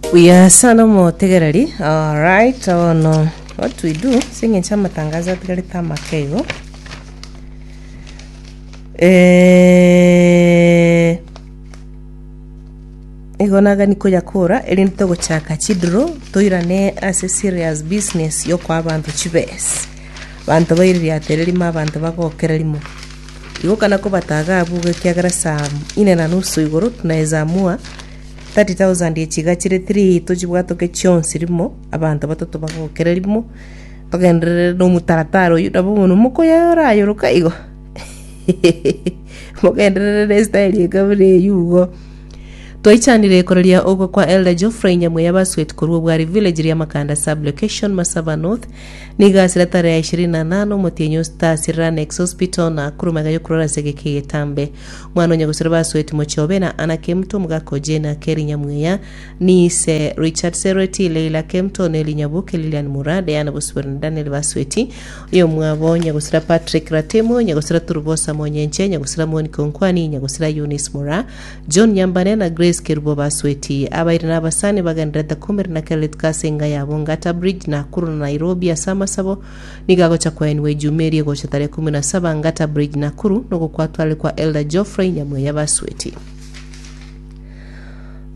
Buya sana omotegereri. Alright, bono what we do ase eng'encho amatangazo atigarete amake igo. Eh, igo nagani koyakora erinde togochaka chidro toirane ase serious business yokoa abanto chibesa. Abanto baiririatere rimo abanto bagokere rimo. Igo kana kobataga abwo igo ekiagera saa ine na nusu igoro tunaweza amua 30,000 echi iga chire 3 tochibwatoke chionsi rimo abanto batato bagokere rimo togenderere na omotaratara oyio nabo bono mokoyayorayoroka igo mogenderere na estyle eka buna eywo igo. Twaichanire koraria okwo kwa Elder Geoffrey Nyamweya Basweti korwa Obwari Village Riamakanda Sub-Location Masaba North Nigo asire tarehe ya ishirini na nane omotienyi o sita ase Rannex Hospital Nakuru magega y'okorwara ase egeka egetambe. Omwana o nyagusero Basweti Mochobe na Anna Kemto, omogaka o Jane Akeri Nyamweya, Niise Richard Serweti, Leila Kemto, Nelly Nyaboke, Lilian Mura, Diana Bosibori na Daniel Basweti. Oyomwabo nyagusira Patrick Ratemo, nyagusira Turubosa Monyenche, nyagusira Monica Onkwani, nyagusira Eunice Mura, John Nyambane na Grace Kerubo Basweti. Abairi na abasani bagendererete komerana na kera rituko ase enga yabo Ngata Bridge, Nakuru na Nairobi ase amasabo nigo agocha koenigwa Ejuma eria egocha tarehe kumi na saba Ngata Bridge, Nakuru nogokwatwarire kwa Elder Geoffrey Nyamweya Basweti.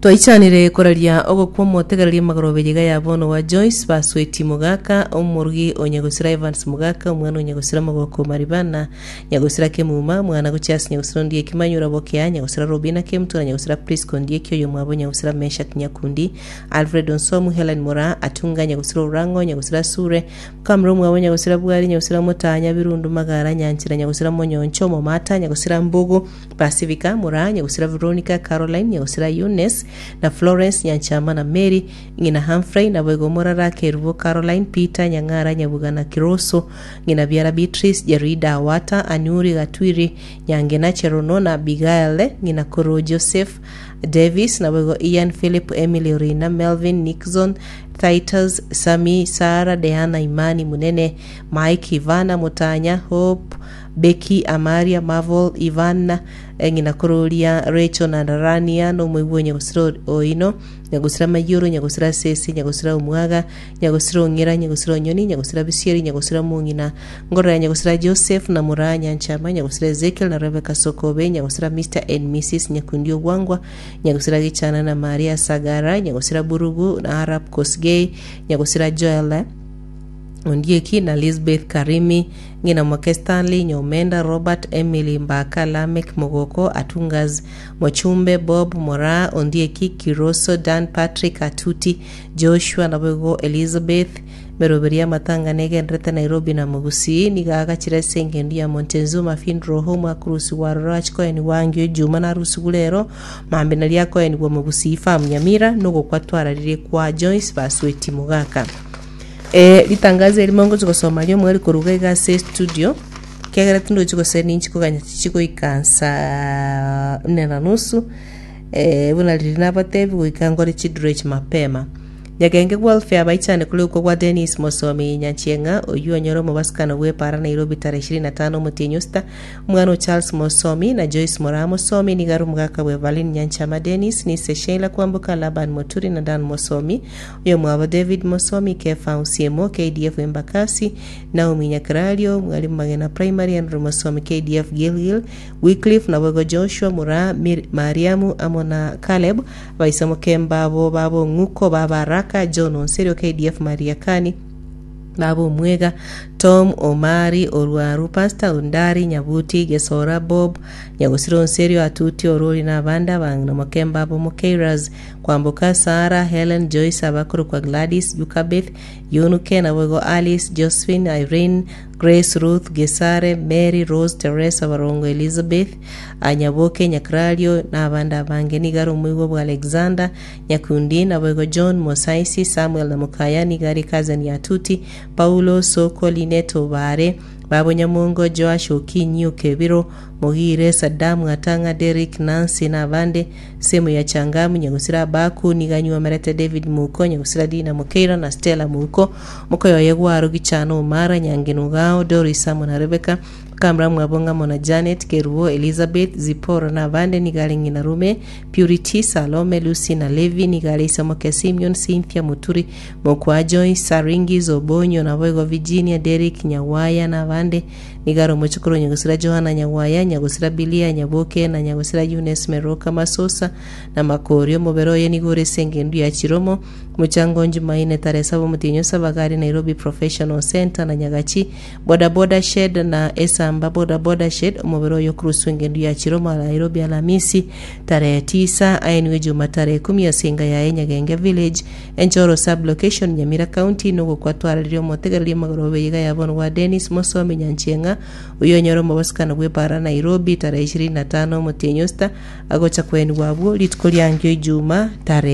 Twaichanire koraria ogokwa omotegereria magoroba eyeiga ya bono wa Joyce Basweti Mogaka, omorugi o Nyagosira Evans Mogaka, omwana o Nyagosira Mogoko Maribana, Nyagosira Kemuma, mwana gochia ase Nyagosira Ondieki Manyura Bokea, Nyagosira Robina Kemtu na Nyagosira Prisca Ondieki oyomwabo Nyagosira Meshack Nyakundi, Alfred Onsomu, Helen Moraa, Atunga Nyagosira Orang'o, Nyagosira Sure, Mokamura omwabo Nyagosira Bwari, Nyagosira Motaa, Nyabirundu Magara, Nyanchera Nyagosira Monyoncho, Momata, Nyagosira Mbugu, Pacifica, Moraa, Nyagosira Veronica, Caroline, Nyagosira Eunice, na Florence, Nyanchama na Mary, ng'ina Humphrey, naboigo Morara, Kerubo, Caroline, Peter, Nyang'ara, Nyabuga na Kiroso, Ng'ina biara Beatrice, Jerida, Wata, Anuri, Gatwiri, Nyangena, Cherono, na Abigael, ng'ina koro Joseph, Davis, naboigo Ian, Philip, Emily, Orina, Melvin, Nixon, Titus, Sammy, Sarah, Diana, Imani, Munene, Mike, Ivana, Mutanya, Hope, Becky, Amaria, Marvel, Ivan, ng'ina koro oria Rachel na Rania, nomoigwa o nyagosira oino, nyagosira Mayoro, nyagosira Sese, nyagosira Omwaga, Nyagosira ong'ira, nyagosira onyoni, nyagosira bisieri, nyagosira mong'ina, ngorora ya nyagosira Joseph na moraa Nyanchama, nyagosira Ezekiel na Rebecca Sokobe, nyagosira Mister and Missus Nyakundi Ogwangwa, nyagosira Gichana na Maria Sagara, nyagosira Burugu na Arap Kosgei, nyagosira Joel Ondieki na Lisbeth Karimi, ng'ina moke Stanley Nyomenda, Robert, Emily Mbaka, Lameck Mogoko, Atungas Mochumbe, Bob Moraa, Ondieki, Kiroso, Dan Patrick Atuti, Joshua naboigo Elizabeth, emeroberi y'amatanga negenderete Nairobi na Mogusii, nigo agachire ase engendu ya Montezuma Funeral Home akorusigwa aroro achie koenigwa angio Ejuma narusigwe rero mambia nario akoenigwa Mogusii Farm Nyamira nogokwa twararirie kwa Joyce Basweti Mogaka. Eh, ritangazo erimo ngochi gosoma riomweri koruga iga ase estudio kiagera tindochi gose ninchi koganya chichi goika nsaa nne na nusu Eh, buna riria nabatebi goika nkore chiduro echi mapema. Nyagenge Welfare baichane korikwa gwa Dennis Mosomi Nyanchieng'a oyio onyore omobasikano bw'epaara Nairobi tarehe ishirini na tano omotienyi o sita. Omwana o Charles Mosomi na Joyce Moraa Mosomi nigo are omogaka bwa Evaline Nyanchama Dennis, Nise Sheila Kwamboka, Laban Moturi na Dan Mosomi, oyomwabo David Mosomi, Kefa Osiemo, KDF Embakasi, Naomi Nyakerario, Mwalimu Magena Primary, Andrew Mosomi, KDF Gilgil, Wycliffe, naboigo Joshua, Mura, Mariamu, amo na Caleb, abaisamoke mbabo b'abong'uko ba Baraka, John Onserio, KDF Mariakani, b'ab'Omwega, Tom, Omari, Orwaru, Pastor, Ondari, Nyabuti, Gesora, Bob, Nyagosira Onserio, Atuti, Orori, na abande abang'ina moke mbabo Mokeiras, Kwamboka, Sarah, Helen, Joyce, abakorokwa Gladys, Yukabeth, Yunuke, naboigo Alice, Josephine, Irene, Grace, Ruth, Gesare, Mary, Rose, Teresa, Barongo, Elizabeth, Nyaboke, Nyakrario, na abande abange. Nigo are omoigwa bwa Alexander, Nyakundi, naboigo John, Mosaisi, Samuel na Mokaya, nigo are cousin ya Tuti, Paulo, Soko, Linet, Obare, Babo Nyamongo, Joash, Okinyi, Okebiro, Mogire, Saddam, Atang'a, Derrick, Nancy, na abande. Semu ya Changamu, Nyagusira Abaku, nigo anyuomerete David Muko, Nyagusira Dina Mokeira, na Stella Muko, mokoyoye Gwaro, Gichana, Omara, Nyangena Ogao, Doris amo na Rebecca. Kamura mwabo ng'amo na Janet, Kerubo, Elizabeth, Zipporah na abande nigo are ng'ina Rume, Purity, Salome, Lucy na Levi, nigo are ise omoke Simeon, Cynthia, Muturi, Mokwa Joyce, Saringis, Obonyo, naboigo Virginia, Derrick, Nyagwaya na abande. Nigo are omochokoro o nyagosira Johana Nyagwaya, nyagosira Bilia, Nyaboke, na nyagosira Eunice Meroka Masosa, na Makori. Omobere oye nigo ore ase engendu ya Chiromo, Mochango Jumaine tarehe saba omotienyi o saba gari Nairobi Professional Centre na Nyagachi Boda Boda Shed na Esamba Boda Boda Shed. Omobere oye okoruswa engendu ya Chiromo Nairobi Alamisi tarehe tisa aenigwe Juma tarehe ikomi ase enga yaye Nyagenge Village, Enchoro Sub Location, Nyamira County. Nogokwa twarareria omotegereria omogoroba eyega ya bono gwa Dennis Mosomi Nyanchieng'a oyio onyore omobasikano bw'epara Nairobi tarehe ishirini na tano omotienyi o sita agocha koenigwa abwo rituko riangio Ijuma tarehe.